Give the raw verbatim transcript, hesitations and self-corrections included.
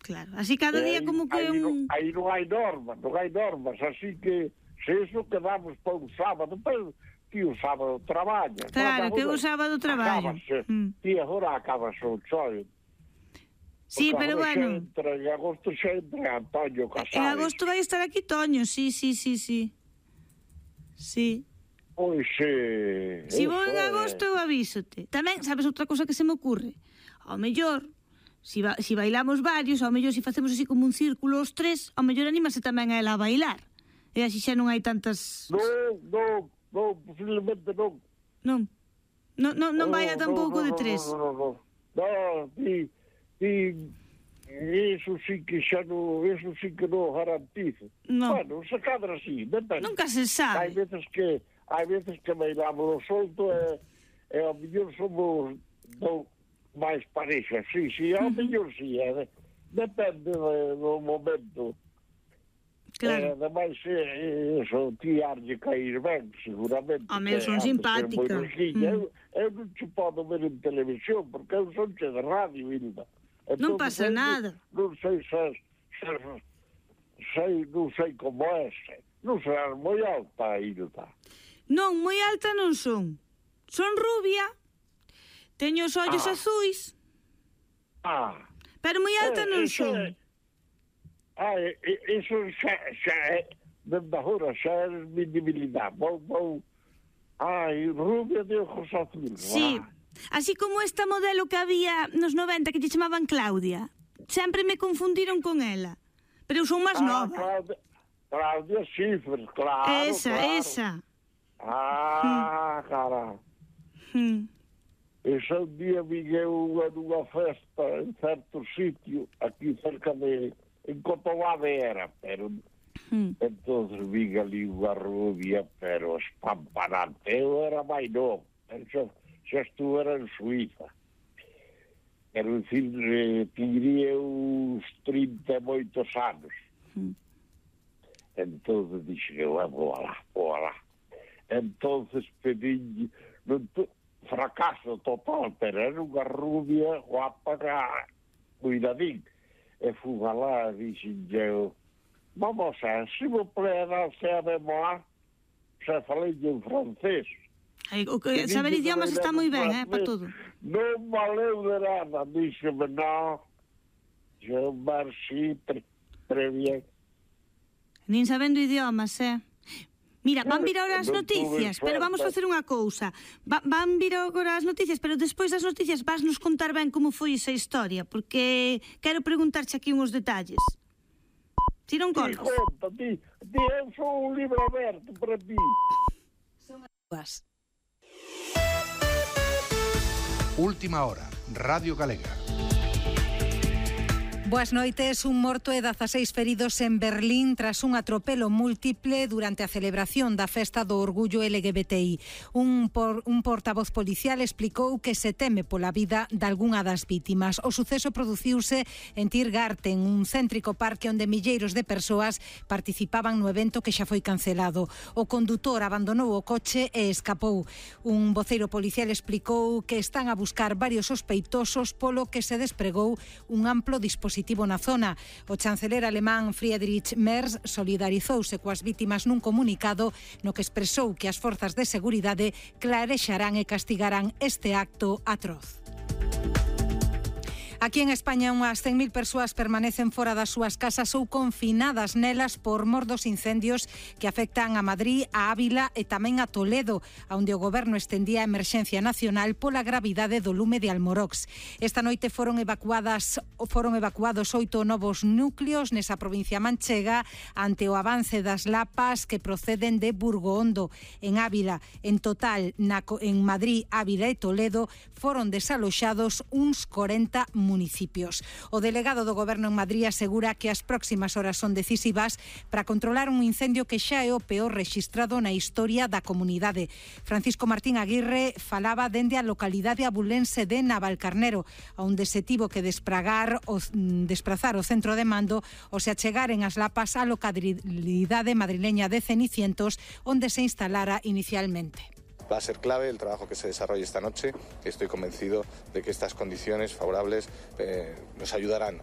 Claro, así cada día aí, como que aí, un... aí non hai normas, non hai normas, así que se eso quedamos para un sábado, pero ti o sábado traballa. Claro, que o sábado traballo. Mm. Ti agora acabas o choio. Sí, pero bueno. Entra, en agosto xa entra Antonio Casares. En agosto vai estar aquí Toño, sí, sí, sí, sí. Sí. Pois, eh... Si vou en agosto, eu avísote. Tamén, sabes outra cosa que se me ocurre? Ao mellor, si, ba si bailamos varios, ao mellor si facemos así como un círculo os tres, ao mellor anímase tamén a ela a bailar. E así xa non hai tantas... Non, non, non, posiblemente non. Non, non, non, non vai a tampouco de tres. Non, non, non, non, ti, ti, eso sí que xa non, eso sí que non garantizo. Non. Bueno, se cadra así, depende. Nunca se sabe. Hai veces que, hai veces que bailamos o solto e, e ao mellor somos do, máis parexas, sí, sí, ao mellor sí, é, depende de, do momento. Claro. E, ademais, eh, eso, ti arlle cair ben, seguramente. Home, eu son simpática. Mm. Eu, eu non te podo ver en televisión, porque eu son che de radio, Hilda. Non pasa nada. Non sei se, se, sei, non sei como é, non serás moi alta, Hilda. Non, moi alta non son. Son rubia, teño os ollos ah. azuis, ah. pero moi alta eh, non son. É... Ah, iso xa, xa é, desde agora, xa é mi debilidade. Vou, vou... Ai, rubia de ojos azules. Sí, ah. así como esta modelo que había nos noventa que lle chamaban Claudia. Sempre me confundiron con ela. Pero eu son máis ah, nova. Claudia, Claudia Schiffer, claro, Esa, claro. esa. Ah, hmm. cara. Hmm. Ese un día viguei unha nunha festa en certo sitio, aquí cerca de... En Cotobade era, pero... Hmm. Entonces vi ali unha rubia, pero espampanante. Eu era máis novo, pero xa, xa estuve en Suiza. Pero, en fin, eh, tiría uns trinta e moitos anos. Hmm. Entonces dixe, eu vou alá, vou alá. Entonces pedí... Fracaso total, pero era unha rubia guapa, cuidadín. E fui alá e dixen eu, vamos a, se me plaît, danse a memoir, xa falei en francés. Ay, o que saber idiomas está moi ben, eh, para todo. Non valeu de nada, díxeme, non, je merci, très bien. Nin sabendo idiomas, eh. Mira, van vir agora as noticias, pero vamos facer unha cousa. Va, van vir agora as noticias, pero despois das noticias vas nos contar ben como foi esa historia, porque quero preguntarche aquí uns detalles. Si non colgas. Ti conta, ti, ti, eu sou un libro aberto para ti. Son as Última hora, Radio Galega. Boas noites. Un morto e dezaseis feridos en Berlín tras un atropelo múltiple durante a celebración da Festa do Orgullo L G B T I. Un, por, un portavoz policial explicou que se teme pola vida de algunha das vítimas. O suceso produciuse en Tiergarten, un céntrico parque onde milleiros de persoas participaban no evento que xa foi cancelado. O condutor abandonou o coche e escapou. Un voceiro policial explicou que están a buscar varios sospeitosos, polo que se despregou un amplo dispositivo na zona. O chanceler alemán Friedrich Merz solidarizouse coas vítimas nun comunicado no que expresou que as forzas de seguridade clarexarán e castigarán este acto atroz. Aquí en España unhas cen mil persoas permanecen fora das súas casas ou confinadas nelas por mor dos incendios que afectan a Madrid, a Ávila e tamén a Toledo, onde o goberno estendía a emerxencia nacional pola gravidade do lume de Almorox. Esta noite foron evacuadas foron evacuados oito novos núcleos nesa provincia manchega ante o avance das lapas que proceden de Burgohondo. En Ávila, en total, na, en Madrid, Ávila e Toledo foron desaloxados uns corenta municipios. municipios. O delegado do Goberno en Madrid asegura que as próximas horas son decisivas para controlar un incendio que xa é o peor rexistrado na historia da comunidade. Francisco Martín Aguirre falaba dende a localidade abulense de Navalcarnero, onde se tivo que despragar o, desprazar o centro de mando o se achegaren as lapas á localidade madrileña de Cenicientos, onde se instalara inicialmente. Va a ser clave el trabajo que se desarrolle esta noche. Estoy convencido de que estas condiciones favorables eh, nos ayudarán